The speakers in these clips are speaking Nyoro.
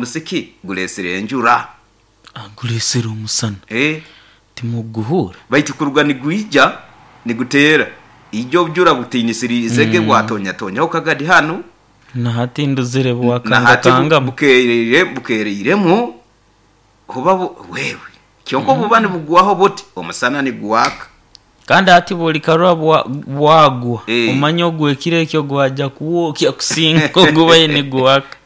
Omusiki guleesire enjura. Guleesere omusana. Timuguhuura? Baitu kuruga nigwija niguteera, ijo obujura butiinisiriizege bwatonyatoonyaho kagadi hanu. Na hati ndozere Na hati bwakangakangamu. bukeereiremu oba wewe kyonka obu buba nibugwaho buti, omusana nigwaka. Kandi hati bwolikarora bwagwa, omanye ogw'ekiro ekyo gwaja kwokya kusinga ogubaire nigwaka.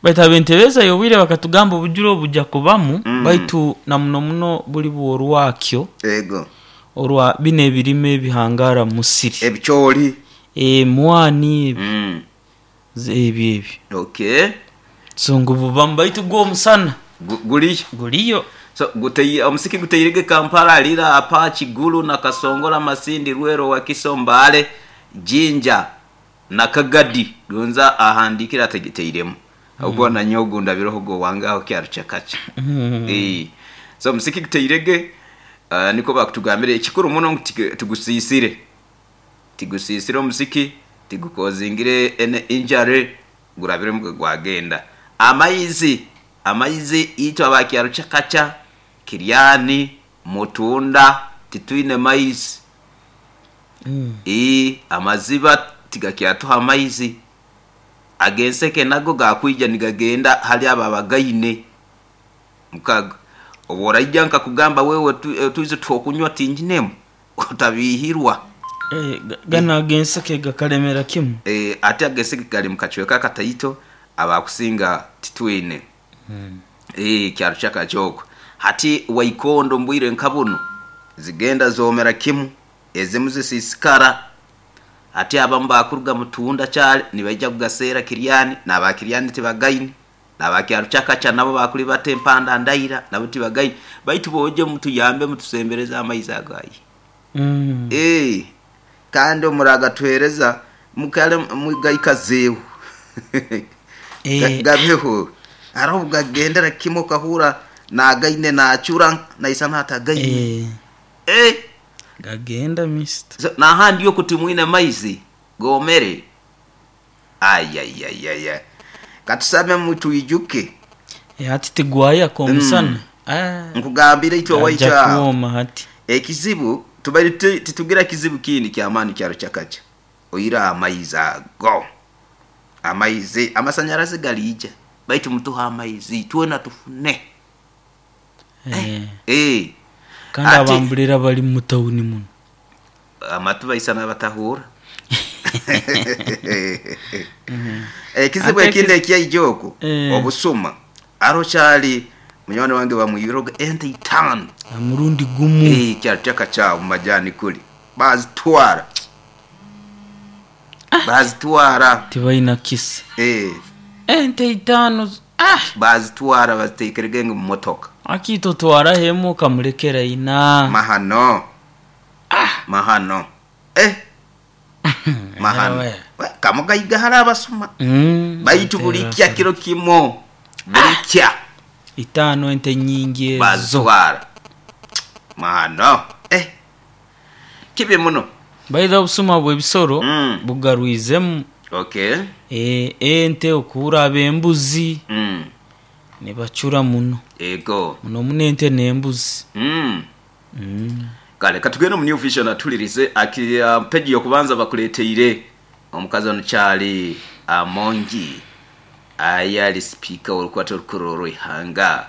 Baitu ab'entebeza y'obwire bakatugamba obujura obu buja kubamu, baitu na muno muno buli bw'orwakyo orwa binu ebirime ebihangara mu musiri. Ebicooli. Emwani ebi, ebyo ebyo. So ngu bubamu baitu gwo omusana Guliyo. Guliyo. So omusiki guteirege Kampala, Lira, Apac, Gulu, Nakasongola, Masindi, Lwero, Wakiso, Mbale, Jinja na Kagadi. Gonza ahandiikire atagiteiremu ahabw'okuba nanye ogu ndabireho gwe owange aho Kyarukyakakya. So omusiki guteirege nikwo bakutugambira. Ekikuru muno ngu tigusiisire. Tigusiisire omusiki, tigukozingire any injury, gurabiremu gwe gwagenda. Amaizi, amaizi itwe aba Kyarukyakakya, Kiryani, Mutunda titwine maizi. Ii, amaziba tigakyatuha amaizi. Ag'enseke nago gakwija nigagenda hali abo abagaine. Mukago, obu oraija nkakugamba wewe otwize tw'okunywa tinginemu, otabiihirwa. Ganu ag'enseke gakalemera kimu. Ate ag'enseke gali mu kacweka akataito, abakusinga titwine. Kyaro kyakakya okwo. Hati waikondo omu bwire nka bunu, zigenda zoomera kimu, ezimu zisiisikara. Hati abamu baakuruga Mutunda kyare nibaija kugaseera Kiryani, n'aba Kiryani tibagaine. N'aba Kyarukyakakya nabo baakulibata empanda ndaira nabo tibagaine. Baitu boije mutuyambe mutusembereze amaizi ago aye. Eeh kandi omuragatuheereza mukare mugaikazeeho gabeho. Haroho obu gagendera kimwe okahurra naagaine naacura naisana atagaine. Eeh. Gagenda mister. So n'ahandi oku timwine maizi goomere. Ayayayaya katusabe mutwijuke. Hati tigwayaka omusana. Nkugambire itwe owaitu Gaja aho kwoma hati. ekizibu tubaire titugira kizibu kindi kyamaani kyaro kyakakya oihireho amaizi ago. Amaizi, amasanyarazi galiija baitu mutuhe amaizi twena tufune. Kandi Hati abambulira bali mu tawuni muno. Amatu baisa n'abatahuura. Ekizibu Ate ekindi ekyaija oku, obusuma. Haroho kyali munywani wange bamwibiroga ente itaano. Ha murundi gumu. Kyali kyakakyaho omu majani kuli. Baazitwara. Baazitwara. Tibaina kisa. Ente itaano ah! Baazitwara baziteekerege ngu mumotoka. Akiita otwaraho emu okamulekera ina. Mahano. Mahano. Eh! Mahano. Kamugaiga hare abasuma. Baitu bulikya kiro kimu. Bulikya. Itaano ente nyingi ezo. Bazitwara. Mahano. Eh! Kibi muno. Baidha obusuma bw'ebisolo bugarwizemu. Okay. Ente okuhura ab'embuzi nibacura muno. Ego. Muno muno ente n'embuzi. Kale katugende omu New Vision atulirize aki peji y'okubanza bakuleteire omukazi ono Charlie Amongi aye ali sipiika w'orukwata orukuru orw'eihanga.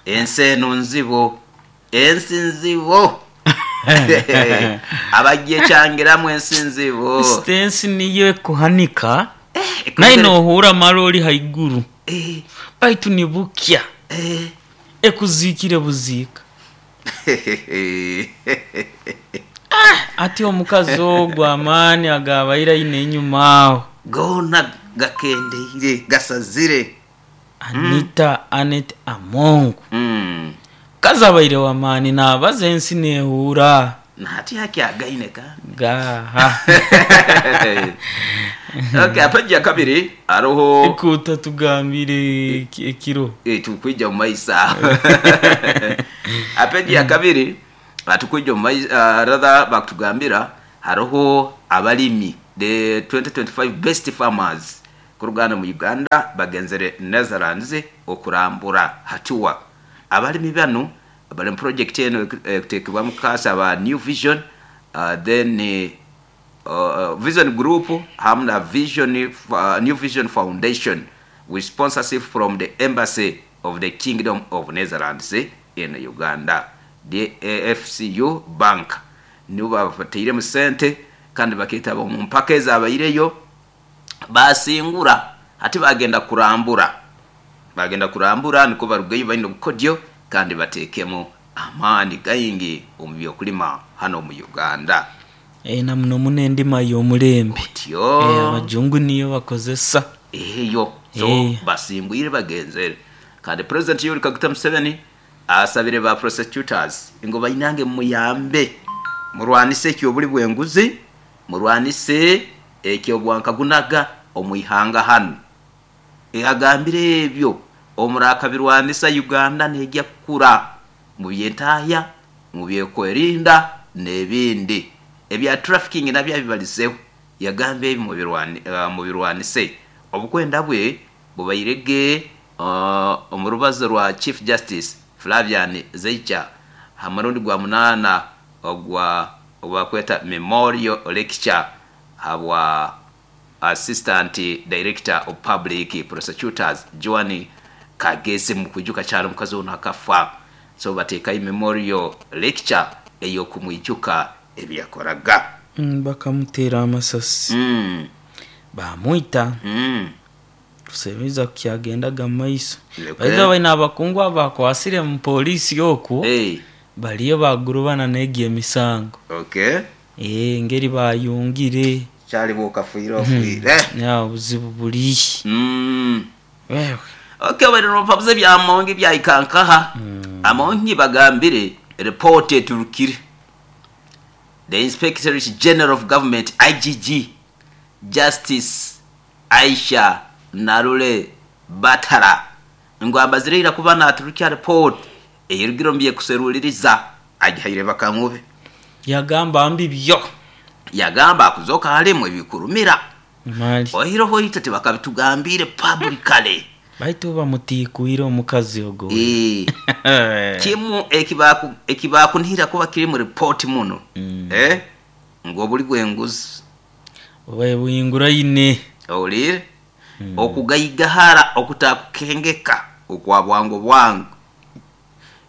Ensi eno nzibu, ensi nzibu abagyekyangiramu ensi nzibu. Kasita ensi niyo ekuhanika naye nohuura male oli haiguru baitu nibukya. Ekuziikire buziika. Ati omukazi ogwo amaani agaabaire aine einhuma agho. Goona gakendeire, gasazire. Anita Annet Among. Mukazi abaire wa maani naabaza ensi neehuura. Na hati akyagaine kandi. Gaaha. Okay, peji ya kabiri haroho. Ku otatugambire ekiro. Tukwija omu maiso aho. Peji ya kabiri tukwija omu maiso rather bakutugambira haroho abalimi the 2025 best farmers. Kuruga hanu mu Uganda bagenzere Netherlands okurambura hatuwa abalimi banu bali mu project eno ekutekebwamu kaasa ba New Vision, then Vision Group hamu na Vision, New Vision Foundation with sponsorship from the Embassy of the Kingdom of Netherlands in Uganda, the AFCU Bank nibo babatairemu sente kandi baketaba omu mpaka ezabaireyo basingura. Hati bagenda kurambura, bagenda kurambura nikwo barugeyo baine obukodyo kandi batekemu amaani gaingi omu by'okulima hanu omu Uganda. Na muno muno endima y'omulembe. Otyo. Abajungu niyo bakozesa. Eyo. So basingwire bagenzere. Kandi President Yoweri Kaguta Museveni asabire ba prosecutors ngu bainange muyambe murwanise eky'obuli bw'enguzi, murwanise eky'obwankagunaga omu ihanga hanu. Agambire ebyo omurakabirwanisa Uganda neija kukura mu by'entahya, mu by'okwerinda n'ebindi. Ebya trafficking nabyo abibalizeho, yagamba ebi mubirwanise. Obukwenda bwe bubairege omu rubazo rwa Chief Justice Flavian Zeicha ha murundi gwa munaana ogwa ogubakweta Memorial Lecture habwa Assistant Director of Public Prosecutors Joan Kagezi. Mukwijuka kyali omukazi onu akafa, so batekayo Memorial Lecture ey'okumwijuka ebiyakoraga. Bakamutera amasasi bamwita. Kuseruliza kukyagendaga mu maiso. Baitu baine abakungu abakwasire mu poliisi okwo baliyo bagurubana n'egyo emisango. Engeri bayungire. Kyali bwokafiire ofiire. Obuzibu buli. Wewe. Okay, bali nobabuza ebya Amongi byahika nkaha. Amongi bagambire report eturukire. The Inspectorate General of Government IGG Justice Aisha Narule Batara ngu amazire ira kuba naturukya report eyerugire omu byekuseruliriza agihaire bakamube. Yagamba mbi byo. Yagamba akuzoka halimu ebikurumira. Mali. Oihireho itwe tibakabitugambire publicly. Baitu bamutikwire omukazi ogwo. Kimu ekibakunihira kuba kiri mu report muno. Ngu obuli bw'enguzi. Obaye buhinguraine. Owulire? Okugaigahara okutakukengeka okwa bwangu bwangu.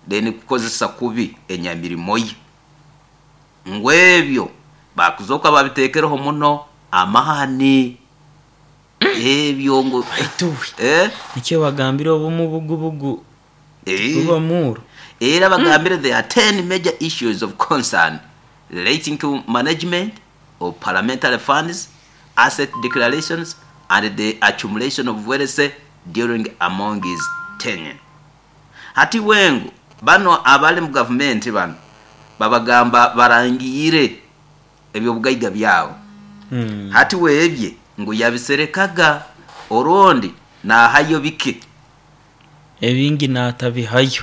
Then kukozesa kubi enyamirimo ye. Ngu ebyo bakuzoka babitekereho muno amaani. Ebyo ngu Baitu nikyo bagambire obumubugubugu buba muuro. Era bagambire there are 10 major issues of concern relating to management of parliamentary funds, asset declarations and the accumulation of wealth during Amongi's tenure. Hati wengu bano abali mu gavumenti bano babagamba barangire eby'obugaiga byabo. Hati webye ngu yabiserekaga orundi nahayo bike. Ebingi natabihayo.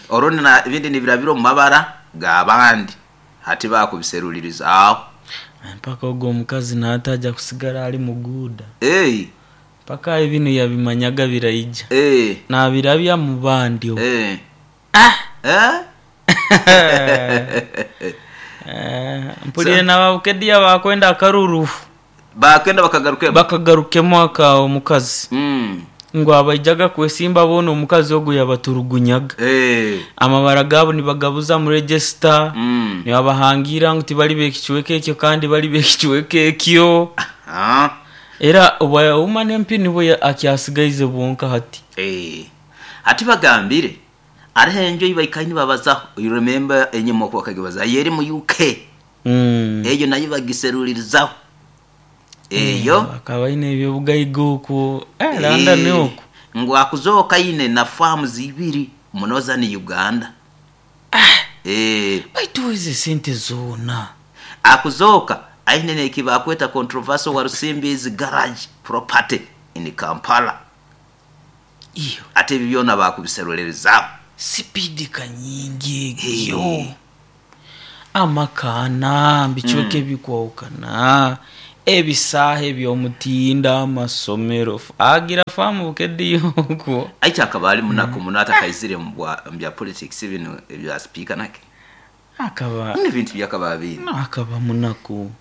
Orundi ebindi nibirabira omu mabara g'abandi. Hati bakubiserulirizaaho. Mpaka ogwo omukazi nataja kusigara ali muguuda. Mpaka ebinu yabimanyaga biraija. Nabirabya mu bandi. Mpulire n'ababukedia bakwenda akaruru. Bakwenda bakagarukemu. Bakagarukemu aka omukazi. Ngu abaijaga kwesimba boona omukazi ogwo yabaturugunyaga. Amabara gaabo nibagabuza mu register. Nibabahangira ngu tibali b'ekicweka ekyo kandi bali b'ekicweka ekyo. Era obwa woman MP nibwo akyasigaize bwonka hati. Hati bagambire hariho enju ei baikaire nibabazaho. You remember enyima oku bakagibazaho eri mu UK. Eyo nayo bagiserulirizaho. Eyo Bakaba baine eby'obugaiga okwo London okwo. Ngu akuzooka aine na farms ibiri mu Northern Uganda. Baitu ezo esente zoona. Akuzooka aine n'ekibakweta controversial Walusimbi's garage property in Kampala. Iyo. Ate ebyo byona bakubiserulirizaaho. Sipiidi ka nyingi egyo. Amaka ana, bicweka ebikwahukana. Ebisaaha eby'omutindo, amasomero, agira faamu Bukedea okwo. Aiki akaba ali munaku muno atakaizire mu bya politics binu ebya sipiika nake. Akaba Ebintu byakaba biine. No, akaba munaku.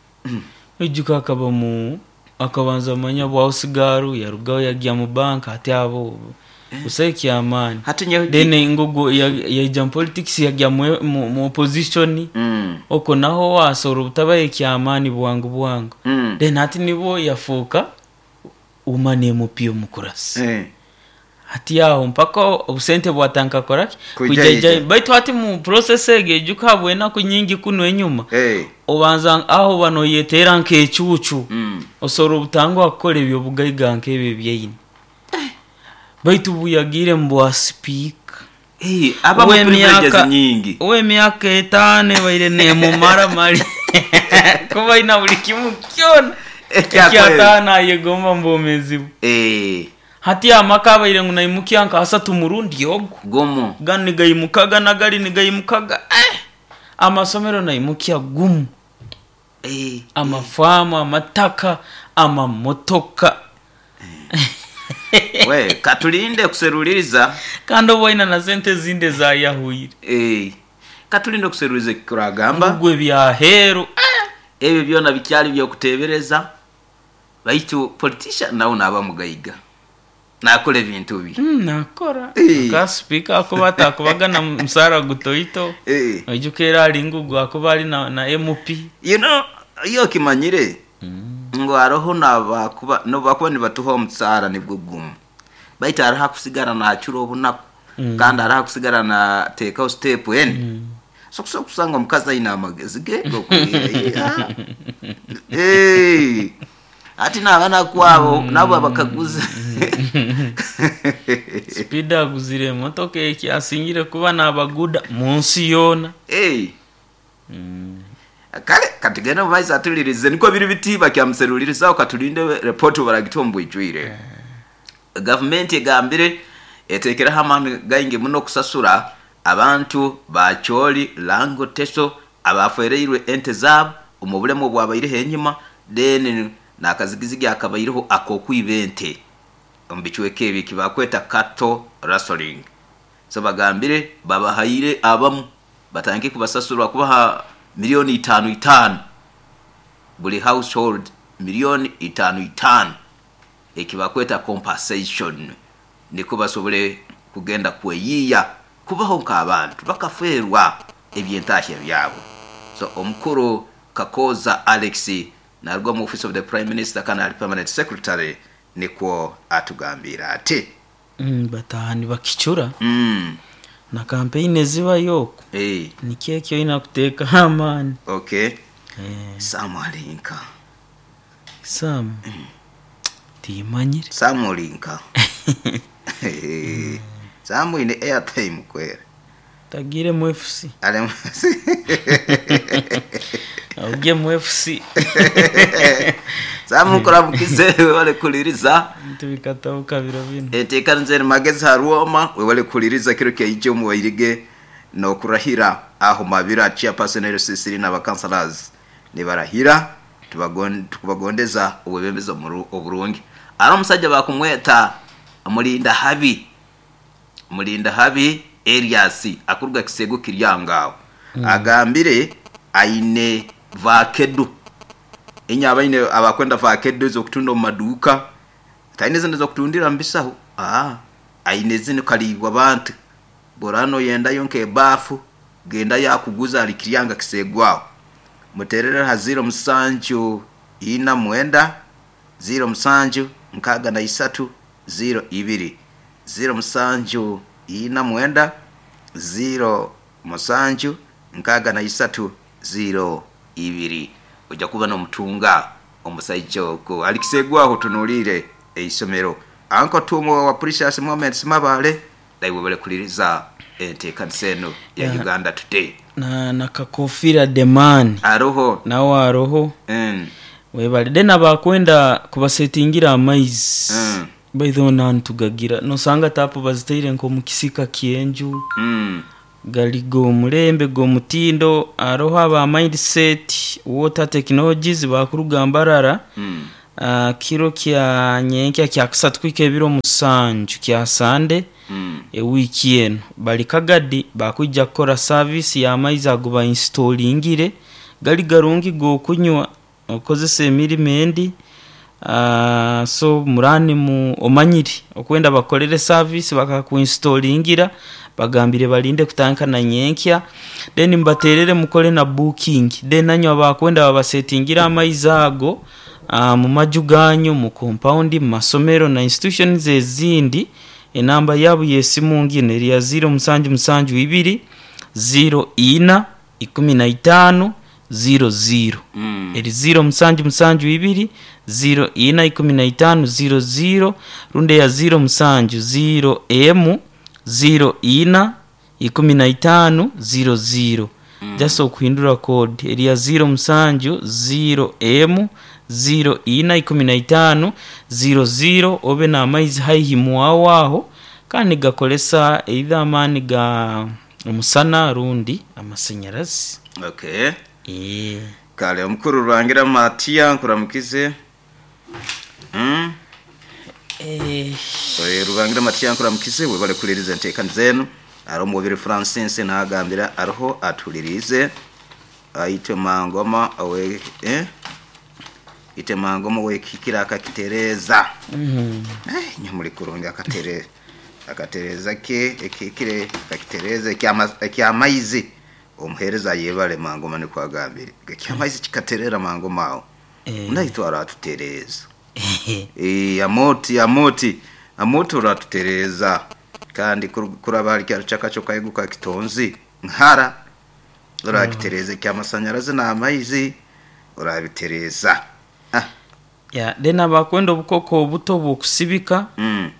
Oijuka akaba mu akabanza manya bwa usigaru yarugaho yagya mu banka ati abo busaho ekyamaani. Hati nyowe Then ngogo yaija mu politics yagya mu opposition. Okwo naho wasobola obutabaho ekyamaani bwangu bwangu. Then hati nibwo yafuuka woman MP omukurasi. Hati aho mpaka obusente bwatandika kukoraki? Kwija Kwija. ija. Baitu hati mu process egi ejuka habw'enaku nyingi kunu enyuma. Obanza aho oba noyeteera nk'ecuucu. Osobola obutanguha kukora eby'obugaiga nk'ebyo ebyaine. Baitu buyagiire mu bwa sipiika. Aba mu privileges nyingi. Ow'emyaka 5 ebaire neemumara mali. Kuba aina buli kimu kyona. Ekyataano ayegomba mu bwomeezi bwe. Hati amaka abaire ngu naimukya nka asatu murundi ogu. Gumu. Ganu nigaimukaga nagali nigaimukaga. Amasomero naimukya gumu. Amafaamu, amataka, amamotoka. We, katulinde kuseruliriza. Kandi obu aina na sente ezindi ezayahwire. Katulinde kuseruliriza ekikuragamba. Ngwe byaheru. Ebyo byona bikyali byokutebereza. Baitu politician nawe naba mugaiga. Nakora ebintu bi. Nakora. Ka speaker akuba atakubaga na musara gutoito. Oijuka era ali ngugu akuba ali na MP. You know, iyo kimanyire. Ngo aroho nabakuba no bakuba nibatuha omusara nibwo gumu. Baitu araha kusigara na achura obunaku. Kandi araha kusigara na take out step en. So kusanga omukazi aina amagezi ge gokugira. Ati n'abaana kwabo nabo abakaguza. Speed aguzire emotoka ekyasingire kuba n'abaguda mu nsi yoona. Kale katugende mu maiso atulirize niko biri biti bakyamuserulirizaho katulinde report baragitwa mu bwijwire. Gavumenti egambire etekeraho amaani gaingi muno kusasura abantu ba Choli Lango Teso abafereirwe ente zaabo omu bulemu obwabaireho enyuma, then nakazigizigi akabaireho ak'okwiba ente omu bicweka ebi ekibakweta cattle rustling. So bagambire babahaire abamu batandike kubasasura kubaha milioni itano itano buli household, milioni itano itano ekibakweta compensation, niko basobole kugenda kweyiya kubaho nk'abantu bakaferwa ebyentahya byabo. So omukuru Kakoza Alex naruga mu office of the Prime Minister kana ali permanent secretary nikwo atugambira ati Batahani bakicura. Na campaign ezibayo okwo. Nikyo ekyo oyina kuteekaho amaani. Sam alinka. Sam. Timanyire. Sam olinka. Sam ine airtime kwera. Tagire mu FC. Ale mu FC. Auge mu FC. Sam kurabukize wale kuliriza. Tubikatabuka biro bino. Eteka nzeri magezi haruoma we wale kuliriza kiro kya mu wairige no kurahira aho mabira chairperson LCC na councillors ni barahira tukubagondeza obwebembezi oburungi. Ari omusajja bakumweta Mulinda Habi. Mulinda Habi Elias akuruga Kisego kiryangaho. Agambire aine vakedu. Inya abaine abakwenda vakedu zo kutunda mu maduka. Taine zindi zo kutundira mbisaho. Aine zindi kalibwa abantu. Borano yenda yonke bafu genda yakuguza alikiryanga Kisegwaho. Muterere ha 0 7 49 0 7 63 0 2 0 7 49 0 7 63 0 2. Ojja kuba n'omutunga omusajja ogwo alikisegwaho tunulire eisomero. Anko tumo wa Precious Moments Mabale daiwe bale kuliriza enteekanisa eno ya Uganda Today. Na kakofira demand aroho nawe aroho. Webale then abakwenda kubasetingira amaizi. By the way nantugagira nosanga tapu baziteire nko mu kisika kyenju. Gali g'omulembe g'omutindo. Haroho aba Mindset Water Technologies bakuruga Mbarara. Kiro kya nyenkya kya kusatu kuhika ebiro 7 kya Sande ewiiki enu bali Kagadi, bakwija kukora service y'amaizi ago bainsitolingire. Gali garungi g'okunywa, okozesa emirimo endi. So murani omanyire okwenda bakukolere service bakakuinstolingira, bagambire balinde kutandika na nyenkya, then mubaterere mukole na booking, then nanywe abakwenda babasetingire amaizi ago mu maju ganyu, mu compound, mu masomero na institutions ezindi. Enamba yaabo y'esimu ngino eri ya 0772 04 15 00. Eri 0772 04 15 00 rundi eya 070 M 04 15 00. Just okuhindura code eri ya 070 M 04 15 00, obe n'amaizi haihi mwawe aho, kandi gakolesa either amaani ga omusana rundi amasanyarazi. Okay. Kale omukuru Rurangira Matia nkuramukize. Rurangira Matia nkuramukize, webale kuliriza enteekani zenu. Aroho Mubiri Francis nagambira aroho atulirize. Aitwe Mangoma owe ite Mangoma wekikira akakitereza. Nyamuli kurungi akatereza. Akatereza ke ekikire akakitereza ekyamaizi. Omuhereza yebale Mangoma nikwagambire. Ekyamaizi kikaterera Mangoma aho. Naitwe aratutereza. Amoti amoti oratutereza. Kandi kuraba hari kyaro chakacho kaiguka kitonzi nkara urakitereza kyamasanyarazi n'amaizi urabitereza. Ya then abakwenda obukoko obuto bw'okusibika,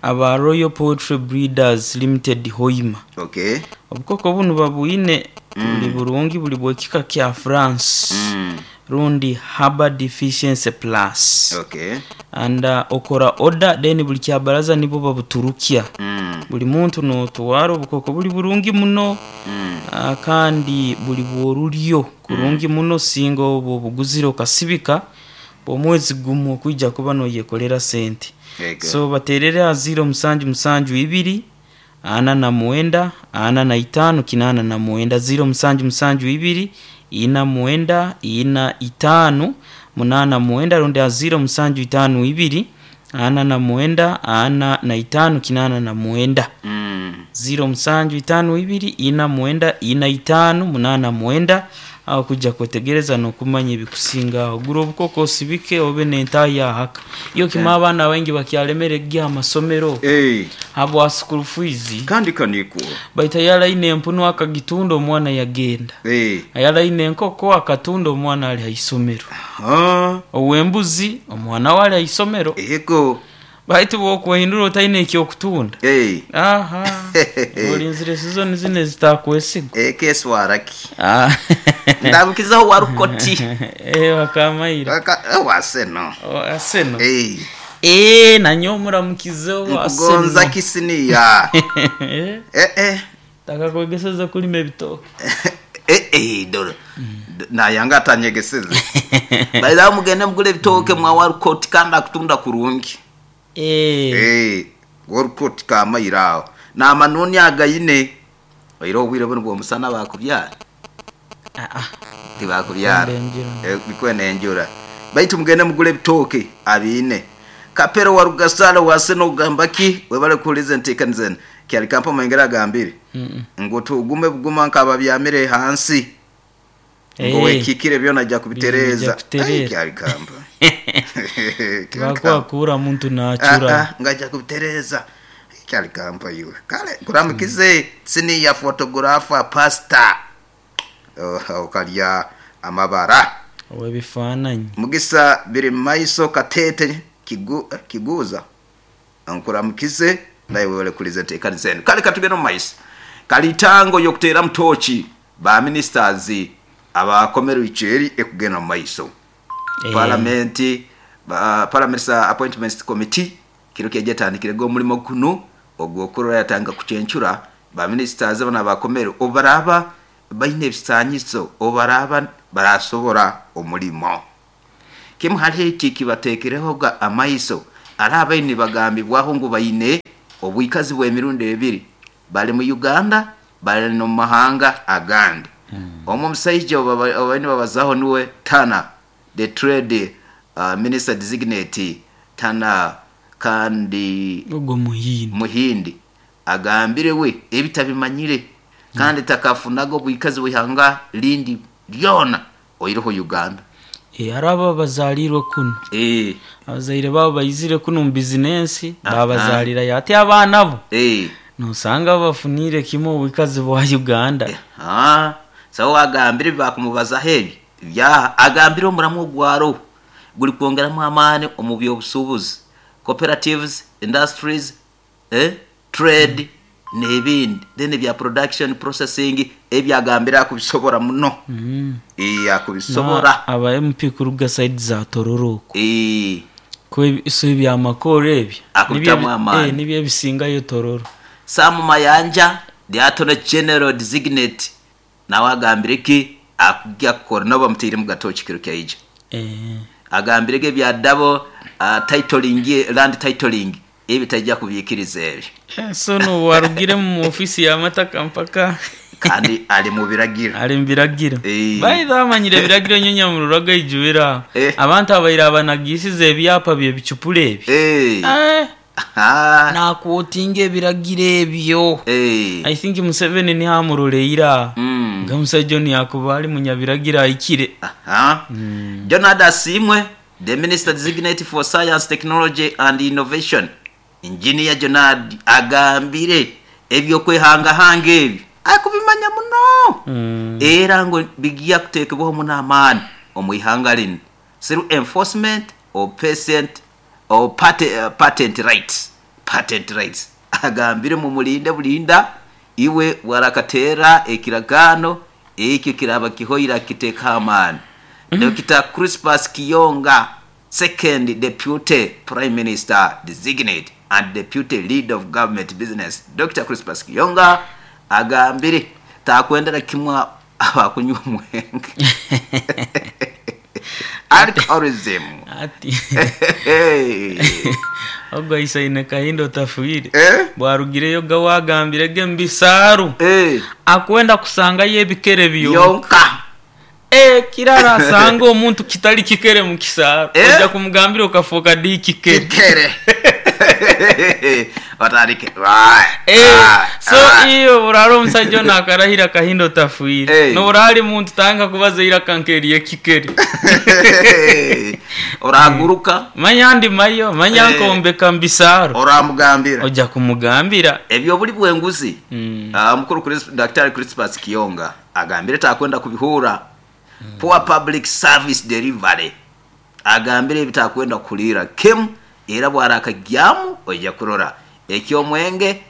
aba Royal Poultry Breeders Limited Hoima. Okay. Obukoko bunu babwine buli burungi, buli bwekika kya France rundi Haber Deficiency Plus. Okay. And okora order, then buli kyabaraza nibo babuturukya. Buli muntu notwara obukoko buli burungi muno. Kandi buli bworulyo kurungi muno, singa obwo obuguzire okasibika omwezi gumu okwijja kuba noyekolera sente. So baterere aha 0772 49 45 89, 0772 49 45 89 rundi aha 0752 49 45 89. 0752 49 45 89 aho kujja kwetegereza n'okumanya ebikusinga aho. Gura obukoko osibike obe n'entaahi ahaka. Iyo kima abaana baingi bakyalemere gya amasomero habwa school fees. Kandi kaniko. Baita yalaine empunu akagitunda omwana yagenda. Ayalaine enkoko akatunda omwana ali haisomero. Owembuzi omwana wali haisomero. Ego. Baitu bwokwehindura otaine ekyokutunda. Aha. Olinzire season zine zitakwesiga. Keswaraki. Ndabukizaho warukoti. Wakamaira. Waseno. Waseno. Nanyo muramukizeho waseno. Nkugonza kisiniya. Takakwegeseza kulima ebitoke. Dora. Nayanga atanyegeseze. Baira mugende mugule ebitoke mwa warukoti kandi akutunda kurungi. Warukoti kamairao. Na manoni agayine. Oiro obwire buno bw'omusana bakubyara. Tibakubyara. Bikwene enjura. Baitu mugende mugule ebitoke abine. Kapero wa Rugasala waseno gambaki webale kulize ntekani zene. Kyali kampa mwengera gambire. Ngo tugume buguma nkababyamire hansi. Ngo wekikire byona ajja kubitereza. Kyali kampa. Bakwa kura muntu nachura. Ngaja kubitereza. Kyali kampa iwe. Kale kuramukize sini ya photographer pastor. Okalya amabara. Owebifananyi. Mugisa biri maiso katete kiguza. Nkuramukize naye webale kulize ntekani zenu. Kale katugenda mu maiso. Kalitango yokutera mtochi ba ministers abakomero icheri ekugenda mu maiso. Parliament ba Parliament Appointments Committee kiro kyejetandikire go mulimo kuno ogwo kurora yatanga kuchencura Ba ministers banu abakomere obu baraaba baine ebisaanyizo, obu baraaba barasobora omulimo. Kimu hali eki kibateekerehoga amaiso, hariho abaine nibagambibwaho ngu baine obwikazi bw'emirundi ebiri, bali mu Uganda bali n'omu mahanga agandi. Omu omusaija ou babaire nibabazaho nuwe Turner, the trade minister designate Turner kandi Ogwo Muhindi. Muhindi agambire we ebi tabimanyire kandi takafunaga obwikazi bw'ihanga lindi lyona oihireho Uganda. Hariho abo abazaalirwe kunu. Abazaire baabo baizire kunu omu bizinensi baabazaalirayo. Hati abaana bo noosanga bafuniire kimwe obwikazi bwa Uganda. So agambire ebi baakumubazaho ebi byaha. Agambire omuramwa ogwaroho gurikwongeramu amaani omu by'obusuubuzi, cooperatives, industries, trade n'ebindi. Then ebya production, processing ebyo agambire akubisobora muno. Akubisobora. Aba MP kuruga side za Tororo okwo. So eby'amakooro ebyo Akubitamu amaani. nibyo ebisingayo Tororo. Sam Mayanja, the Attorney General Designate, nawe agambire ki akugya kukora nabo bamutairemu gatooki kiro kyaija. Agambire ge ebya double titling, land titling ebi taija kubiikiriza ebyo. So n'obu arugire mu ofiisi y'amataka mpaka. Kandi ali mu biragiro. Ali mu biragiro. By the way amanyire ebiragiro nyowe nyamurora gaijwire aho. Abantu abaire abanagiisize ebyapa by'ebicupuri ebi. Naakwotinga ebiragiro ebyo. I think Museveni niho amuroleire aho. Nga omusaija onu yaakuba ali munyabiragiro ahikire. Jonald Asiimwe, the Minister Designate for Science, Technology and Innovation, Engineer Jonald agambire eby'okwehangahanga ebyo arikubimanya muno era ngu bigya kuteekebwaho muno amaani omu ihanga linu through enforcement of patient or patent rights, patent rights. Agambire mumulinde bulinda iwe bwarakateera ekiragaano ekyo kiraaba kihoire akiteekaho amaani. Dokita Crispus Kiyonga, Second Deputy Prime Minister Designate and Deputy Leader of Government Business, Dokita Crispus Kiyonga agambire takwendera kimwe abakunywa omwenge. Alcoholism. Ati ogwo aisaine Kahinda otafiire bwarugireyo ga wagambire ge mu bisaaru akwenda kusangayo ebikere byonka. Ekirara asanga omuntu kitali kikere mu kisaaru oja kumugambira okafuuka dhi kikere. Kikere. Otandike. So iwe bw'oraara omusaija onu akarahira Kahinda otafiire, n'obu ali muntu tandika kubaza eiraka nk'ery'ekikere. Oraguruka. Manya ndimayo, manya nkombeka mu bisaaro. Oramugambira. Oja kumugambira. Eby'obuli bw'enguzi, Omukuru Daktari Crispus Kiyonga agambire takwenda kubihuura. Poor public service delivery agambire ebi takwenda kuhuliira kimu era bwarakagyamu oija kurora. Eky'omwenge,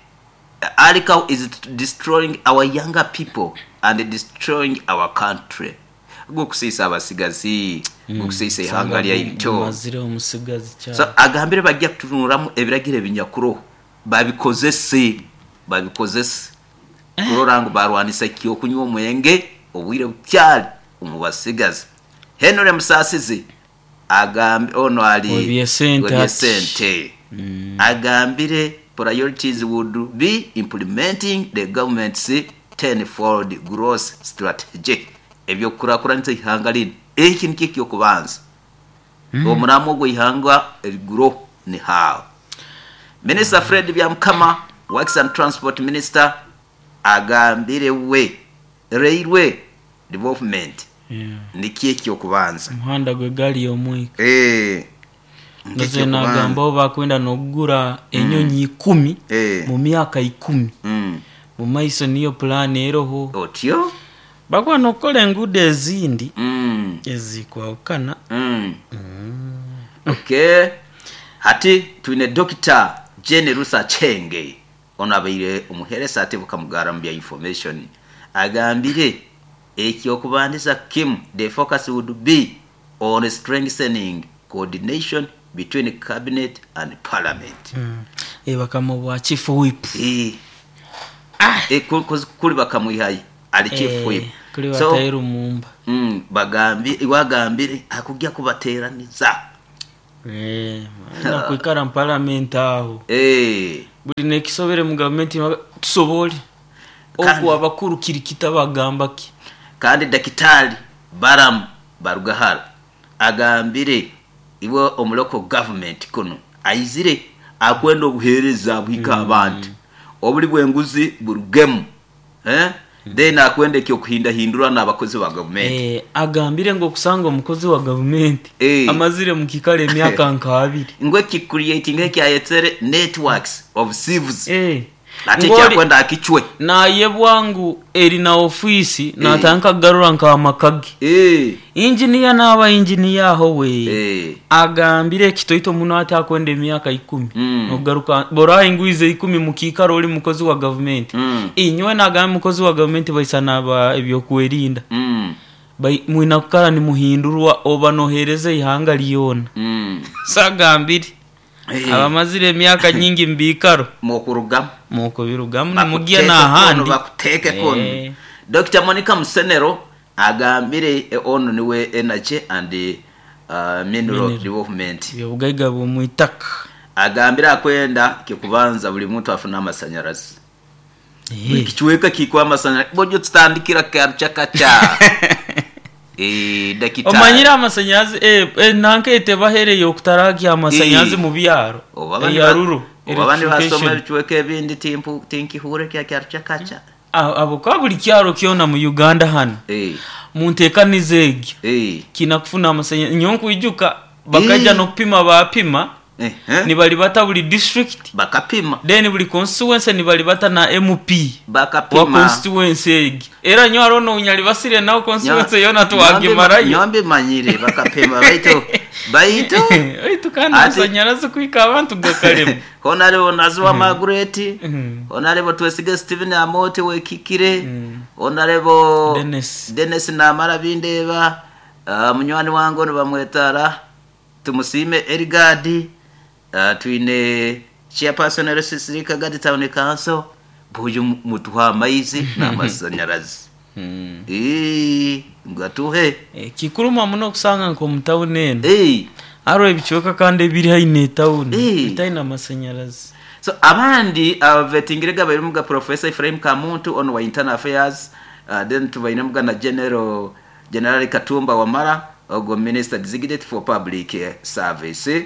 Alcohol is destroying our younger people and destroying our country. Gukusiisa abasigazi, gukusiisa eihanga lyaitu. So agambire bagya kutunuramu ebiragiro ebinyakuroho babikozese, babikozese kurora ngu barwanisa ky'okunywa omwenge obwire bukyali omu basigazi. Henry Musasizi agambire, ono ali ow'ebyesente, agambire priorities would be implementing the government's ten-fold growth strategy, eby'okukurakuranisa eihanga linu. Eki nikyo eky'okubanza. Omuramwa ogw'eihanga eriguro ni how. Minisita Fred Byamukama, Works and Transport Minister, agambire we Railway Development nikyo eky'okubanza. Omuhanda gw'egaali y'omwika. Nze nagamba obu bakwenda n'okugura enyonyi ikumi mu myaka ikumi mu maiso niyo pulaani eroho. Otyo? Bakuba n'okukola enguudo ezindi ezikwahukana. Ok. Hati twine Dokita Jane Ruth Aceng, ono abaire omuheresa ate bukamugara mu bya information, agambire eky'okubandiza kimu the focus would be on strengthening coordination between cabinet and parliament. Bakama obwa chief whip. Kuli bakamwihayo ali chief whip. Kuli So, bataire mumba. Bagambi wagambire akujja kubateraniza. Na kuikara mu parliament aho. Buli nekisobere mu gavumenti tusobole. Oku abakuru kirikita bagamba ki. Kandi Dakitali Balaam Barugahara agambire iwe omuloko government kuno aizire akwenda obuheereza buhika abantu obuli bwenguzi burugemu, then akwenda ekyokuhindahindura n'abakozi ba gavumenti. Agambire ngu okusanga omukozi wa gavumenti amazire mu kikaro emyaka nka abiri. Ngwe ki creating ekyayetsere networks of thieves. Ate ekyakwenda akicwe. Nayebwa ngu eri na ofisi natandika kugarura nka amakage. Engineer n'aba engineer aho we. Agambire ekitoito muno ati akwenda emyaka 10. Nogaruka bora ingwize 10 mu kikaro oli mukozi wa gavumenti. Inywe nagamba mukozi wa gavumenti baisa naba ebyokwerinda. Mwina kukara ni muhindurwa oba nohereza ihanga lyona. Sagambire. Abamazire emyaka nyingi mbikaro. Mokurugamu. Mokubirugamu nimugiye n'ahandi. Bakuteke kono. Dr. Monica Musenero agambire ono niwe Energy and Mineral Development. Byobugaiga bw'omwitaka. Agambire akwenda kikubanza buli muntu afuna amasanyarazi. Kichweka kikwa amasanyarazi. Bojo tutandikira kacha. Dakitari. Omanyira amasanyarazi nanka etebahereye okutarakia amasanyarazi mu byaro. Yaruru. Abandi basoma ebichweka ebindi tinkihure kya kacha. Abo kwa buli kyaro kyona mu Uganda hano. Muntekanize egi. Kinakufuna amasanyarazi nyonku ijuka bakaja nokupima bapima. Ni bali bata buli district bakapima. Then buli constituency ni bali bata na MP bakapima wa constituency egi. Era nyo arono unyali basire nao constituency yona tuwagimarayo. Nyombe manyire bakapima baitu baitu kana amasanyarazi kuika abantu gakalemu. Honorable Nazuwa Margaret, Honorable Twesige Stephen Amote wekikire, Honorable Dennis Namara Bindeba, munywani wangu bamwetara Tumusime Erigadi, twine chairperson RCC Kagadi Town Council, buyu mutuha amaizi n'amasanyarazi. Ngatuhe. Kikuruma muno kusanga nko mu town eno. Aro ebichweka kandi ebiri haine town bitaina amasanyarazi. So abandi abavetingirega bari Professor Ephraim Kamuntu on wa Internal Affairs, then tubaine muga na General Katumba Wamala ogo Minister Designate for Public Service.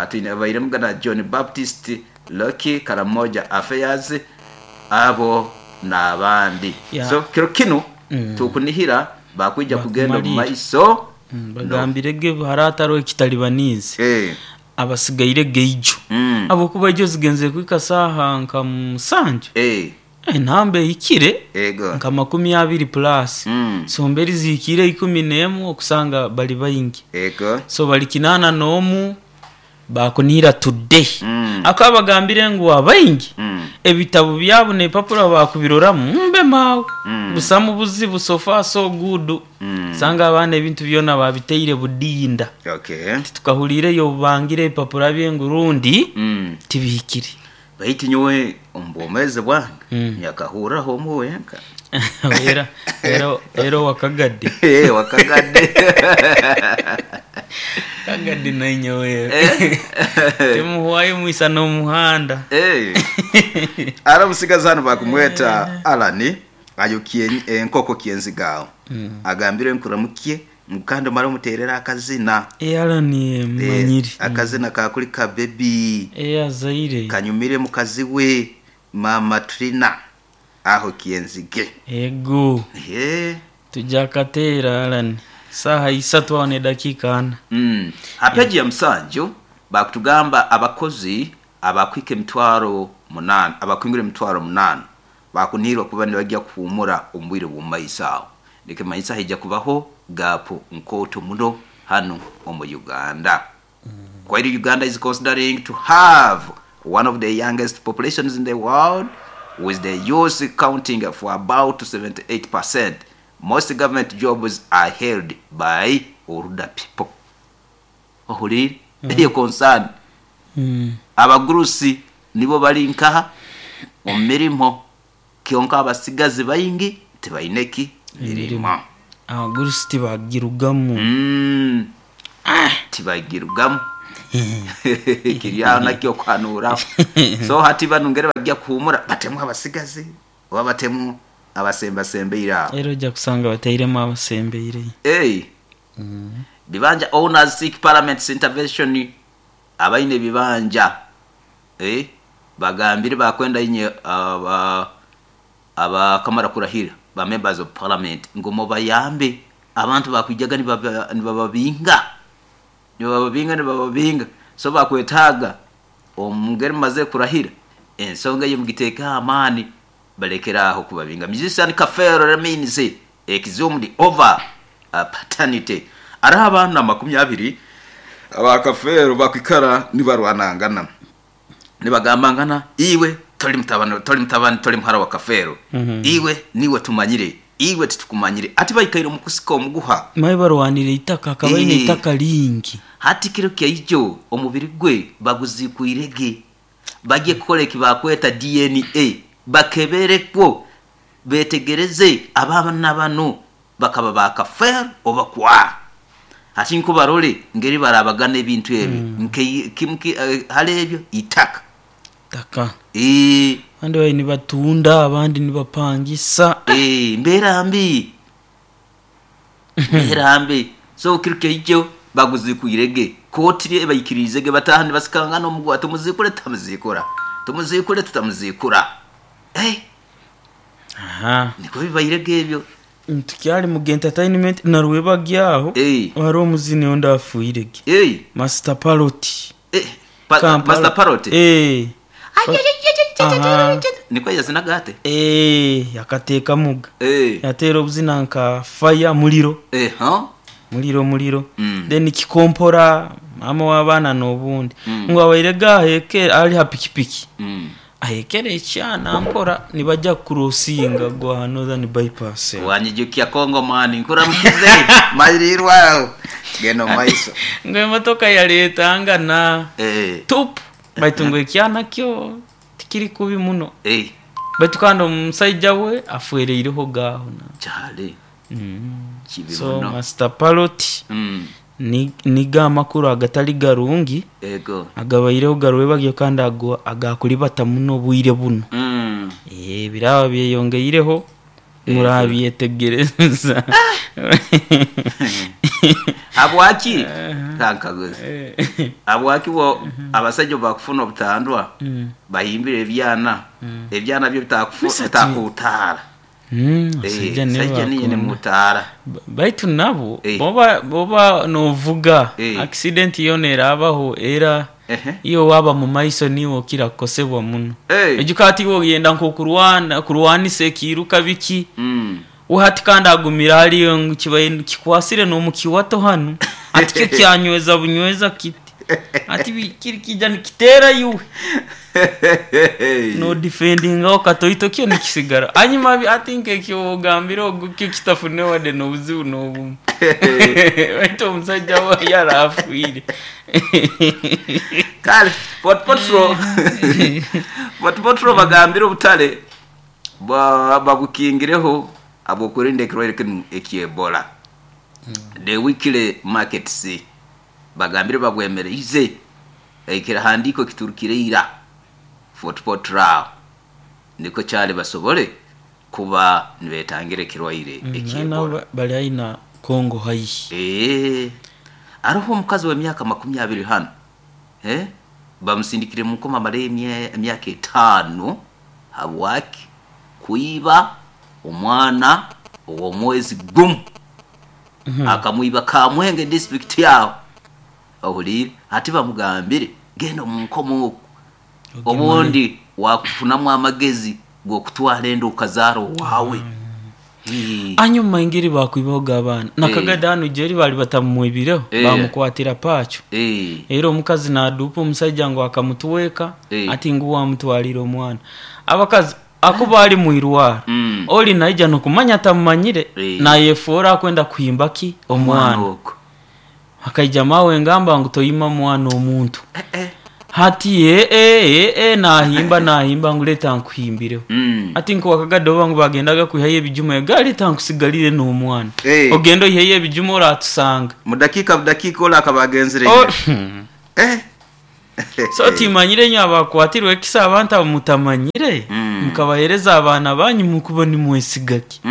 Tuine baine muga na John Baptist Lucky Karamoja Affairs abo n'abandi. So kiro kino tukunihira bakwija kugenda mu maiso. Bagambirege harataro ekitalibanize. Abasigaire geijo. Abo kuba ijo zigenze kwika saha nka musanju. Entambe ikire nka 20 plus. So mberi zikire 11 okusanga bali bayingi. So bali kinana nomu bakunira today. Akabagambire ngu abayingi ebitabo byabo ne papura bakubiroramu mbe mawe. Busamu buzibu so far so good. Sanga abana ebintu byona babiteire budinda. Tukahulire yo bangire papura byengurundi tibikire. Baiti nyowe ombomeze bwange nyakahuraho muwenka. Era wakagadde. Wakagadde. Kagadde nainyowe. Timuhwayo mwisa no muhanda. Ara musigazano bakumweta Alani ayokie enkoko kienzigao. Agambire nkuramukie mukando mara muterera akazina. Alani manyiri. Akazina kakuli ka baby. Azaire. Kanyumire mukazi we Mama Trina aho kienzige. Ego. Tujakatera Alani. Saha isatu aho ne dakika 4. Apeji ya Musanju bakutugamba abakozi abakwike mitwaro 8 abakwingire mitwaro 8 bakunirwa kuba nibajya kuhumura ombwire bw'umaisaho. Ndike maisa hija kubaho gapu nkoto muno hano omu Uganda. While Uganda is considering to have one of the youngest populations in the world, with the youth counting for about 78%, most government jobs are held by older people. Ohulire eyo concern. Abagurusi nibo bali nkaha omirimo. Kyonka abasigazi baingi tibaine ki mirimo. Abagurusi tibagirugamu. Tibagirugamu. Kiri aho nakyo kuhanuraho. So hati banu ngeri bajja kuhumura batemu abasigazi oba batemu abasembasembeire aho. Era ojja kusanga batairemu abasembeire. Hey. Bibanja owners seek parliament's intervention. Abaine ebibanja bagambire bakwenda inye abakamara kurahira ba members of parliament ngu mubayambe abantu bakwijaga nibababinga nibababinga nibababinga, so bakwetaaga omungeri mumaze kurahira ensonga eyo mugiteekeho amaani balekere aho kubabinga. Musician Kafeero remains exhumed over paternity. Hariho abaana 20 aba Kafeero bakwikara nibarwanangana nibagambangana, iwe tori mutabani, tori mutabani, tori muhara wa Kafeero, iwe niwe tumanyire, iwe titukumanyire. Ati baikaire omu kusika omuguha. Maye barwanire eitaka, akaba aine eitaka lingi. Hati kiro kyaijo omubiri gwe baguziikwirege, bagye kukora eki bakweta DNA, bakeberekwo betegereze abaana banu bakaba ba Kafeero oba kwa. Hati nko barole ngeri barabagana ebintu ebyo, nke kimu hali ebyo itaka. Itaka. Abandi babaire nibatunda, abandi nibapangisa. Mbeera mbi. Mbeera mbi. So kiro kyaijo baguziikwirege, kooti ebaikiriizege bataaha nibasikangana omuguha, tumuziikure tutamuziikura, tumuziikure tutamuziikura. Nikwo bibairege ebyo. Tukyali mu entertainment na Rwebagyo aho, hariho omuzini ondi afiirege, Master Parrot. Master Parrot? Nikwo yazinaga ati? Akateekamuga. Yateera obuzina nka Fire, Muliro. Muliro Muliro. Then Kikompora, Maama w'abaana n'obundi. Ngu abairege aho ali ha pikipiki. Ahekere ekyana mpora nibaja kukurosinga gwa Northern Bypass. Wanyijukya Congo mani, nkuramukize mairirwe aho. Genda omu maiso. Ngu emotoka yaretangana tupu, baitu ngu ekyana kyo tikiri kubi muno. Baitu kandi omusaija we afwereireho ga aho. Kyale. Kibi So muno. Master Parrot nigo amakuru agatali garungi agabaireho garwebagyo kandi ago agakuribata muno obwire buno. Biraba byeyongeireho murabyetegereza. Habwaki? Kankaguze. Habwaki bo abasaija obu bakufuna obutandwa bahimbire ebyana, ebyana byo bitakutaara. Abasaija nibo Saija niinywe bakunda. nimutaara. Baitu nabo bwoba novuga accident yoona erabaho era iwe waaba mu maiso niiwe okira kukosebwa muno. Oijuka hati iwe oyenda nk'okurwana kurwanisa ekiiruka biki, we hati kandi agumire hariyo ngu kibaire kikwasire n'omu kiwato hanu, hati kyo kyanyweza bunyweza kiti. Hati kiri kiija nikiteera iwe. Nodifendingaho katoito kyo nikisigara. Hanyuma hati nk'ekyo ogambire ogu kyo kitafune wadde n'obuzibu n'obumu. Baitu omusaija we yarafiire. Kale Fort Portal, Fort Portal bagambire obutale babukingireho habw'okwerinda ekirwaire kinu eky'Ebola. The weekly markets bagambire babwemereize ekirahandiiko kiturukire ira Fort Portal aho nikwo kyali basobole kuba nibetangira ekirwaire eky'Ebola. Bali haihi na Congo haihi. Haroho omukazi w'emyaka 20 hanu bamusindikire mu nkomo amaleyo emyaka 5 habwaki kwiba omwana ow'omwezi gumu. Akamwiba Kamwenge district aho. Ohuliire? Hati bamugambire genda omu nkomo oku, obundi wakufunamu amagezi g'okutwara enda okazaara owaawe. Hanyuma engeri bakwibahoga abaana. Nakagadi hanu gyeri bali batamumwibireho, bamukwatira pacho. Era omukazi naduupa omusaija ngu akamutweka, ati ngu wamutwalire omwana. Abakazi akuba ali mwirwaro, oli naija nokumanya tamumanyire, nayefoora akwenda kuhimba ki? Omwana. Akaija mawe ngamba ngu toyima mwana omuntu. Hati nahimba nahimba ngu leta nkuhimbireho. Ati nk'owakagadi oba ngu bagendaga kwihayo ebijuma egaali tankusigalire n'omwana. Eh. Ogende oiheyo ebijuma oratusanga. Mu dakiika budakiika ole akaba agenzire Oh, ira. Eh. So timanyire inywe abakwatirwe ekisa abantu abo mutamanyire, mukabahereza abaana banyu mukuba nimwesiga ki?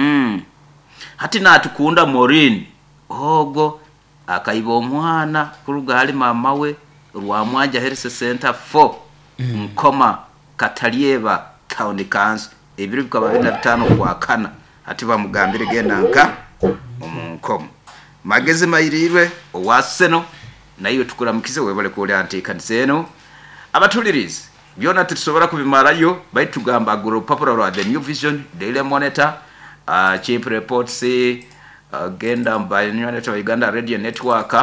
Hati natukunda Maureen ogwo akaiba omwana kuruga hali mama we Rwamwanja Health Center 4 Nkoma Katalyeba Town Council ebiro bikaba 25 Okwakana. Hati bamugambire genda nka omu nkomo. Magezi mairirwe owa Seno naiwe tukuramukize webale kuolya nteekaniza eno. Abatulirizi byona titusobora kubimarayo, baitu tugamba agura orupapura rwa The New Vision, Daily Monitor, Chimp Reports, genda ba Uganda Radio Network,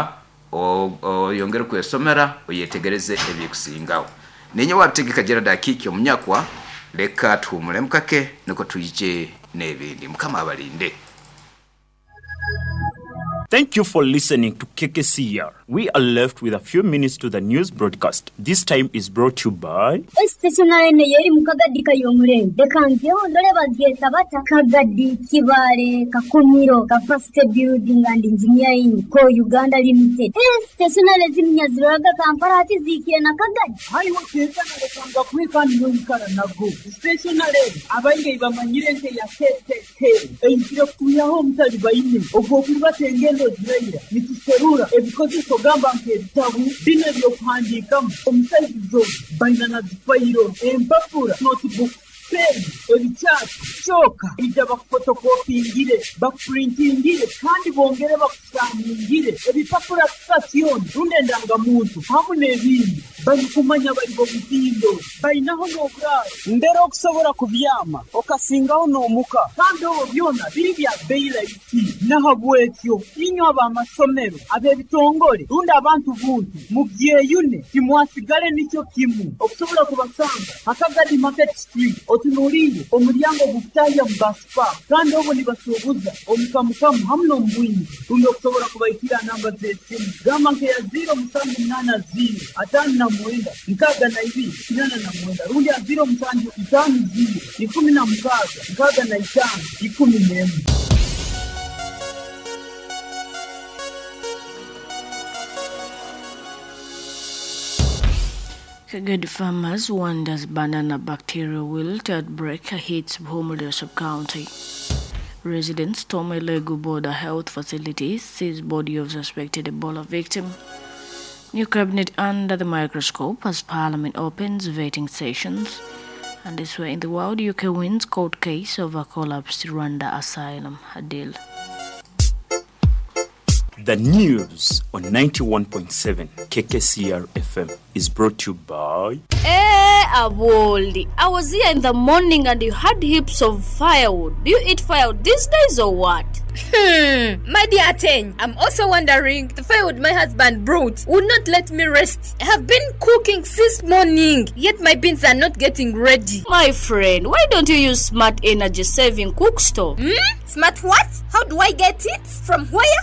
oyongere kwesomera oyetegereze ebikusingaho. Ninye wabitegeka Gerald Akiki omunyakwa, leka tuhumule mukake niko twije n'ebindi. Mukama abalinde. Thank you for listening to KKCR. We are left with a few minutes to the news broadcast. This time is brought to you by Stationary eno yeri mu Kagadi Kayomurembe. Leka njeho ndore bagyeta bata Kagadi Kibale Kakumiro Capacity Building and Engineering Co Uganda Limited. Stationary ziminya ziroraga Kampala hati ziikire na Kagadi. Haiwe kekana lekanga kwika niyoikara nago. Stationary abaingi bamanyire nte ya KKK. Eizire kutuyaho omutali baine. Ogwo kulibata engendo ziraira. Nituserura ebikozeso gamba nk'ebitabu bino ebyokuhandiikamu omusaizizo baina na zifayiro empapura notebook pen ebikyati kyoka ija bakufotokopingire bakupurintingire kandi bongere bakusaningire ebipapura sitasioni rundi endangamuntu hamu n'ebindi barikumanya bari bomutindo bainaho n'oburaaro mbere okusobora kubyama okasingaho n'omuka kandi obwo byona biri bya bei rahisi. Nahabwekyo inywe ab'amasomero ab'ebitongore rundi abantu buntu mubyeyune timwasigale nikyo kimu okusobola kubasanga Akagadi Market Street otunuliire omulyango ogukutahya mu baspa kandi obwo nibasuubuza omukamukamu hamu n'omubwingi rundi okusobola kubaikira namba z'esimu gamba nkeya 0780 59 62 89 rundi ya 0750 16 65 11. Kagadi farmers wonders banana bacterial wilt outbreak hits Buhumura sub-county. Residents storm Elegu border health facility, seize body of suspected Ebola victim. New cabinet under the microscope as parliament opens vetting sessions. And this way in the world, UK wins court case over collapsed Rwanda asylum deal. The news on 91.7 KKCR FM is brought to you by Aboldi. I was here in the morning and you had heaps of firewood. Do you eat firewood these days or what? My dear Ateng, I'm also wondering, the firewood my husband brought would not let me rest. I have been cooking since morning, yet my beans are not getting ready. My friend, why don't you use smart energy saving cook stove? Smart what? How do I get it? From where?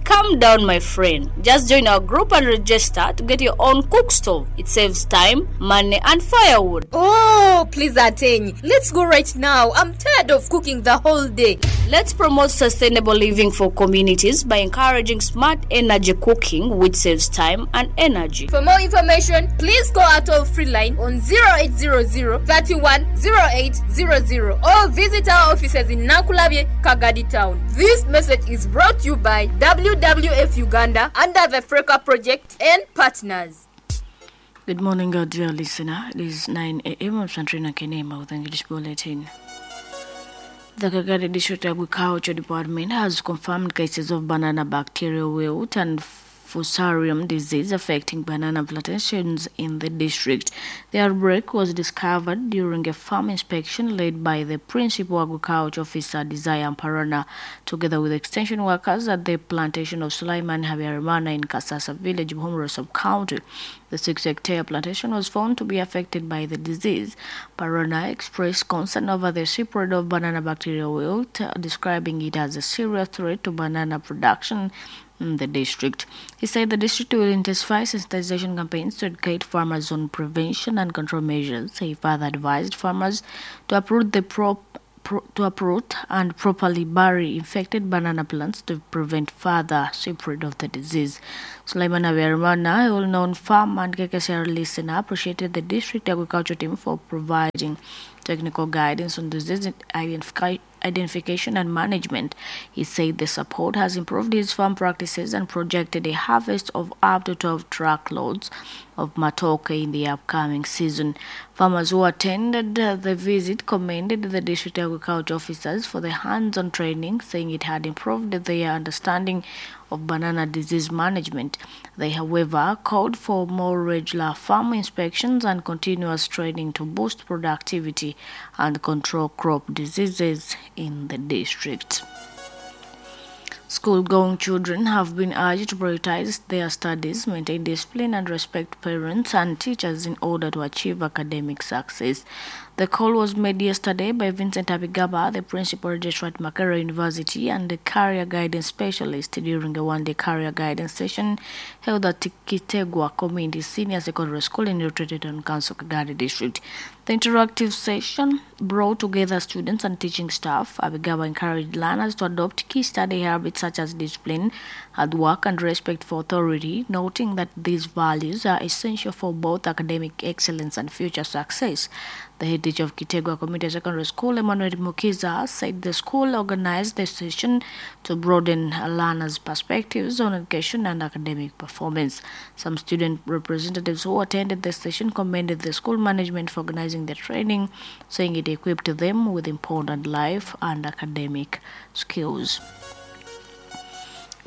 Calm down, my friend. Just join our group and register to get your own cook stove. It saves time, money, and firewood. Oh, please, Ateng. Let's go right now. I'm tired of cooking the whole day. Let's promote sustainable living for communities by encouraging smart energy cooking, which saves time and energy. For more information, please call our toll-free line on 0800 31 0800 or visit our offices in Nankulabye, Kagadi Town. This message is brought to you by WWF Uganda under the Freka Project and partners. Good morning, our dear listener. It is 9 a.m. I'm Santrina Kenema with English Bulletin. The Kagadi District Agriculture Department has confirmed cases of banana bacterial wilt and fusarium disease affecting banana plantations in the district. The outbreak was discovered during a farm inspection led by the Principal Agriculture Officer Desire Amparana, together with extension workers at the plantation of Sulaiman Habyarimana in Kasasa village, Buhumura sub-county. The 6-hectare plantation was found to be affected by the disease. Parana expressed concern over the spread of banana bacterial wilt, describing it as a serious threat to banana production. in the district. He said the district will intensify sensitization campaigns to educate farmers on prevention and control measures. He further advised farmers to uproot to uproot and properly bury infected banana plants to prevent further spread of the disease. Sulaiman Habyarimana, a well-known farmer and KKCR listener, appreciated the district agriculture team for providing technical guidance on disease identification and management. He said the support has improved his farm practices and projected a harvest of up to 12 truckloads of matoke in the upcoming season. Farmers who attended the visit commended the district agriculture officers for the hands-on training, saying it had improved their understanding of banana disease management. They, however, called for more regular farm inspections and continuous training to boost productivity and control crop diseases in the district. School-going children have been urged to prioritize their studies, maintain discipline, and respect parents and teachers in order to achieve academic success. The call was made yesterday by Vincent Abigaba, the principal registrar at Makerere University and the career guidance specialist, during a one-day career guidance session held at Kitegwa Community Senior Secondary School in Retreated Town Council, Kagadi District. The interactive session brought together students and teaching staff. Abigaba encouraged learners to adopt key study habits such as discipline, hard work, and respect for authority, noting that these values are essential for both academic excellence and future success. The head teacher of Kitegwa Community Secondary School, Emmanuel Mukiza, said the school organized the session to broaden learners' perspectives on education and academic performance. Some student representatives who attended the session commended the school management for organizing the training, saying it equipped them with important life and academic skills.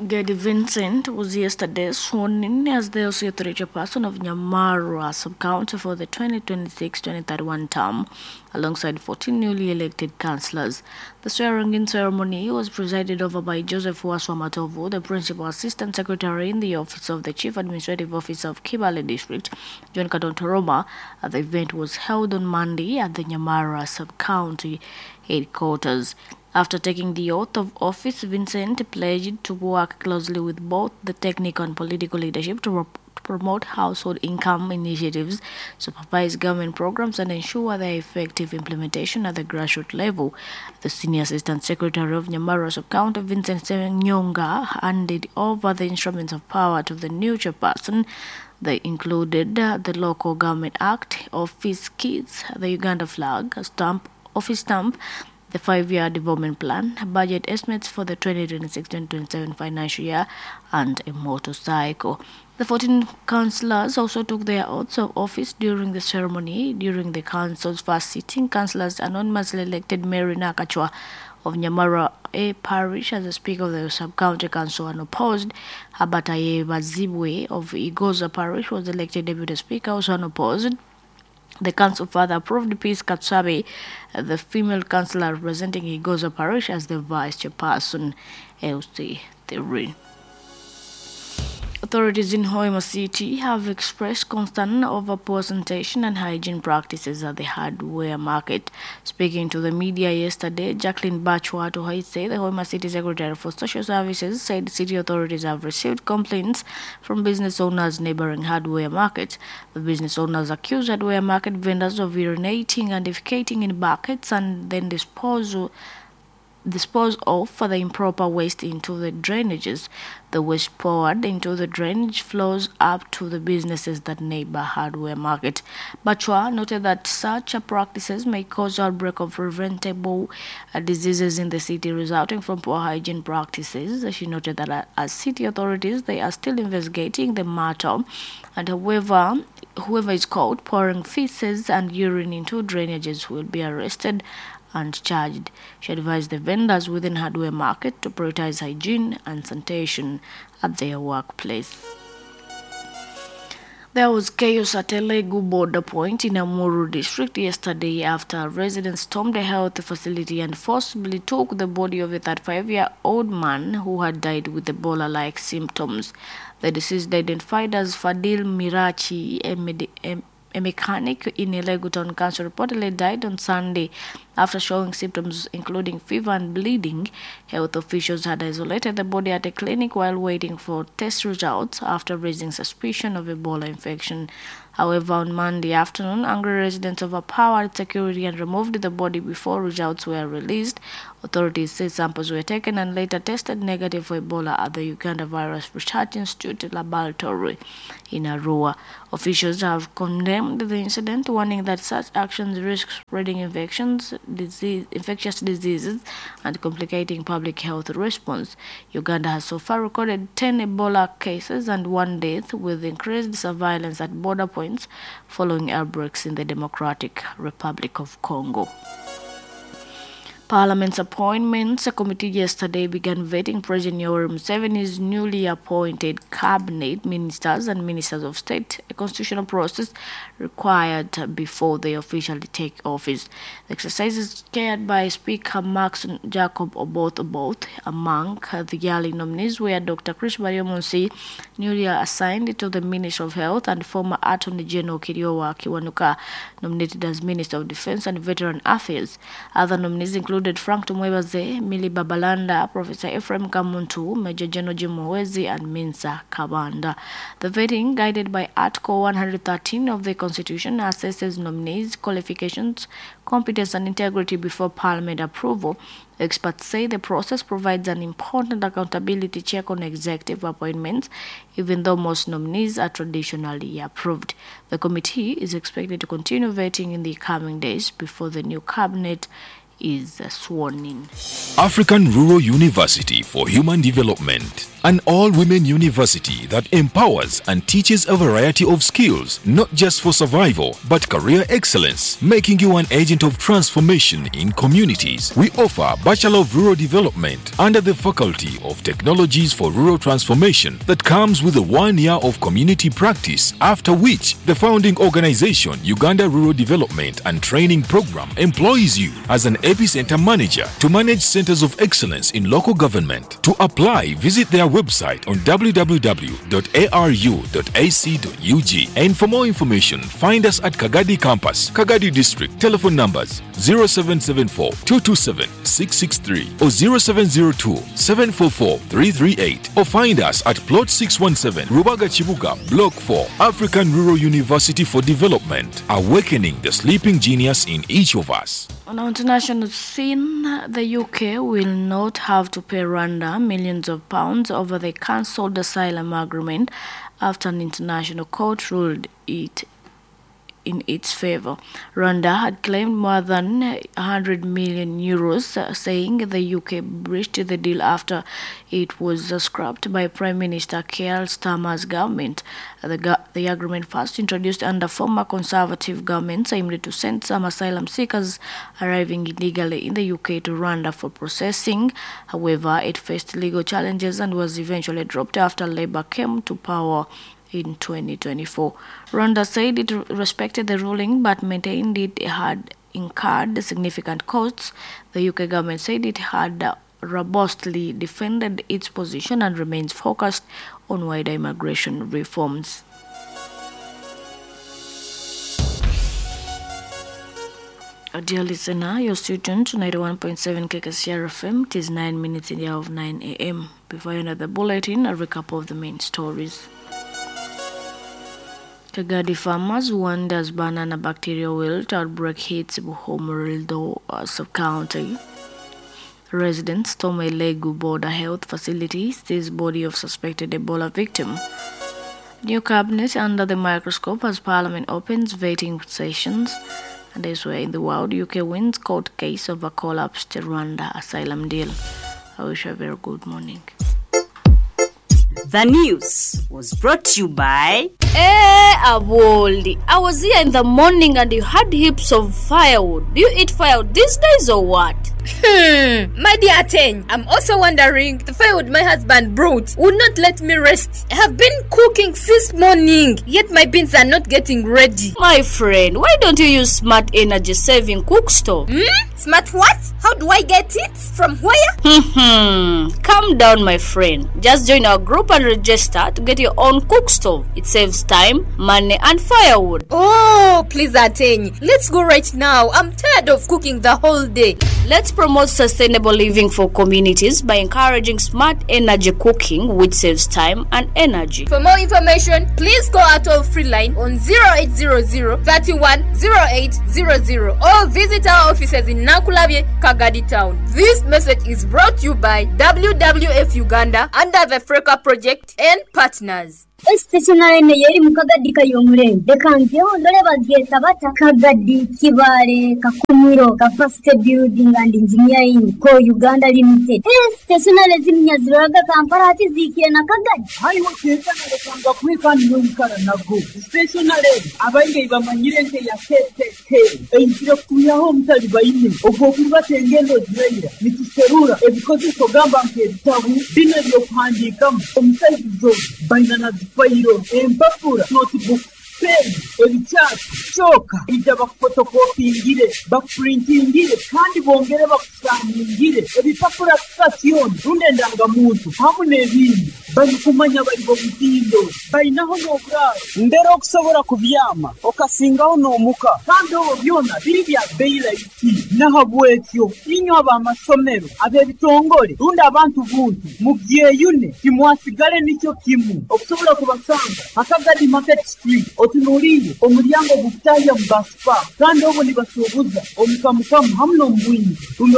Gedi Vincent was yesterday sworn in as the LC3 chairperson of Nyamarwa sub-county for the 2026-2031 term, alongside 14 newly elected councillors. The swearing-in ceremony was presided over by Joseph Waswa Matovu, the principal assistant secretary in the office of the Chief Administrative Officer of Kibale District, John Kadontoroma. The event was held on Monday at the Nyamara sub-county headquarters. After taking the oath of office, Vincent pledged to work closely with both the technical and political leadership to promote household income initiatives, supervise government programs, and ensure their effective implementation at the grassroots level. The senior assistant secretary of Nyamara sub-county, Vincent Senyonga, handed over the instruments of power to the new chairperson. They included the Local Government Act, office keys, the Uganda flag, stamp, office stamp, the 5-year development plan, budget estimates for the 2026-2027 financial year, and a motorcycle. The 14 councillors also took their oaths of office during the ceremony. During the council's first sitting, councillors anonymously elected Mary Nakachwa of Nyamara A Parish as the Speaker of the Sub-County Council and opposed. Habataye Bazibwe of Igoza Parish was elected Deputy Speaker, also unopposed. The council further approved Peace Katsabe, the female councillor representing Igoza Parish, as the vice chairperson, LC3. Authorities in Hoima City have expressed concern over poor sanitation and hygiene practices at the hardware market. Speaking to the media yesterday, Jacqueline Bachwa Tohaise, the Hoima City Secretary for Social Services, said city authorities have received complaints from business owners neighboring hardware markets. The business owners accuse hardware market vendors of urinating and defecating in buckets and then dispose of the improper waste into the drainages. The waste poured into the drainage flows up to the businesses that neighbor hardware market. Bachwa noted that such practices may cause outbreak of preventable diseases in the city resulting from poor hygiene practices. She noted that as city authorities, they are still investigating the matter, and however, whoever is caught pouring feces and urine into drainages will be arrested and charged. She advised the vendors within hardware market to prioritize hygiene and sanitation at their workplace. There was chaos at Elegu border point in Amuru district yesterday after residents stormed a health facility and forcibly took the body of a 35-year-old man who had died with Ebola-like symptoms. The deceased, identified as Fadil Mirachi, a a mechanic in Elegu Town Council, reportedly died on Sunday after showing symptoms including fever and bleeding. Health officials had isolated the body at a clinic while waiting for test results after raising suspicion of Ebola infection. However, on Monday afternoon, angry residents overpowered security and removed the body before results were released. Authorities say samples were taken and later tested negative for Ebola at the Uganda Virus Research Institute Laboratory in Arua. Officials have condemned the incident, warning that such actions risk spreading infectious diseases and complicating public health response. Uganda has so far recorded 10 Ebola cases and 1 death, with increased surveillance at border points following outbreaks in the Democratic Republic of Congo. Parliament's Appointments Committee yesterday began vetting President Yoweri Museveni's newly appointed cabinet ministers and ministers of state, a constitutional process required before they officially take office. The exercise is chaired by Speaker Maxon Jacob Oboth Oboth. Among the early nominees were Dr. Chris Baryomunsi, newly assigned to the Ministry of Health, and former Attorney General Kiryowa Kiwanuka, nominated as Minister of Defense and Veteran Affairs. Other nominees include Frank Tumwebaze, Milly Babalanda, Professor Ephraim Kamuntu, Major General Jim Muhwezi, and Minsa Kabanda. The vetting, guided by Article 113 of the Constitution, assesses nominees' qualifications, competence, and integrity before Parliament approval. Experts say the process provides an important accountability check on executive appointments, even though most nominees are traditionally approved. The committee is expected to continue vetting in the coming days before the new cabinet is sworn in. African Rural University for Human Development, an all-women university that empowers and teaches a variety of skills, not just for survival, but career excellence, making you an agent of transformation in communities. We offer Bachelor of Rural Development under the Faculty of Technologies for Rural Transformation that comes with a 1 year of community practice, after which the founding organization, Uganda Rural Development and Training Program, employs you as an epicenter manager to manage centers of excellence in local government. To apply, visit their website on www.aru.ac.ug, and for more information, find us at Kagadi Campus, Kagadi District. Telephone numbers 0774 227 663 or 0702 744 338, or find us at Plot 617, Rubaga Chibuga, Block 4, African Rural University for Development, awakening the sleeping genius in each of us. On our international scene, the UK will not have to pay Rwanda millions of pounds over the cancelled asylum agreement after an international court ruled it in its favor. Rwanda had claimed more than 100 million euros, saying the UK breached the deal after it was scrapped by Prime Minister Keir Starmer's government. The agreement, first introduced under former Conservative governments, aimed to send some asylum seekers arriving illegally in the UK to Rwanda for processing. However, it faced legal challenges and was eventually dropped after Labour came to power in 2024. Rwanda said it respected the ruling but maintained it had incurred significant costs. The UK government said it had robustly defended its position and remains focused on wider immigration reforms. Dear listener, you're still tuned to 91.7 KKCR FM. It is 9 minutes in the hour of 9 a.m. Before you end the bulletin, a recap of the main stories. Kagadi farmers warned as banana bacterial wilt outbreak hits Buhomorido sub-county. Residents storm Elegu border health facility, sees body of suspected Ebola victim. New cabinet under the microscope as parliament opens vetting sessions. And elsewhere in the world, UK wins court case over collapsed Rwanda asylum deal. I wish you a very good morning. The news was brought to you by... Hey, Aboldi, I was here in the morning and you had heaps of firewood. Do you eat firewood these days or what? My dear Ateng, I'm also wondering the firewood my husband brought would not let me rest. I have been cooking since morning, yet my beans are not getting ready. My friend, why don't you use smart energy saving cook stove? Smart what? How do I get it? From where? Calm down, my friend. Just join our group and register to get your own cook stove. It saves time, money, and firewood. Oh, please, Ateng. Let's go right now. I'm tired of cooking the whole day. Let's promote sustainable living for communities by encouraging smart energy cooking, which saves time and energy. For more information, please call our toll free line on 0800 31 0800 or visit our offices in Nakulabye, Kagadi Town. This message is brought to you by WWF Uganda under the Freka Project and partners. Stationary eno yeri mu Kagadi kayomurembe leka njeho ndole bagyeta bata Kagadi Kibale Kakumiro Capacity Building and Engineering Co Uganda Limited. Stationary ziminya ziroraga Kampala ati ziikire na Kagadi. Haiwe ketanalekanga kweka niyoikara nago stationary abaingi bamanyire nke ya KKK eizire kutuyaho omutali baine ogw'okurubata engendo ziraira nituserura ebikozeso gamba nk'ebitabu bino ebyokuhandiikamu omusaizi zo baina na zifayiro empapura notebook pen ebikyasi kyoka ija bakufotokopingire bakupurintingire kandi bongere bakusaningire ebipapura sitasioni rundi endangamuntu hamu n'ebindi barikumanya bari bomutindo bainaho n'oburaaro mbere okusobora kubyama okasingaho n'omuka kandi obwo byona biri bya beyi rahisi nahabwekyo inywe ab'amasomero ab'ebitongole rundi abantu buntu mubyeyune timwasigale nikyo kimu okusobola kubasanga Akagadi Market Street otunuulire omulyango gukutahya mu basipa kandi obwo nibasuubuza omukamukamu hamu n'omubwingi rundi.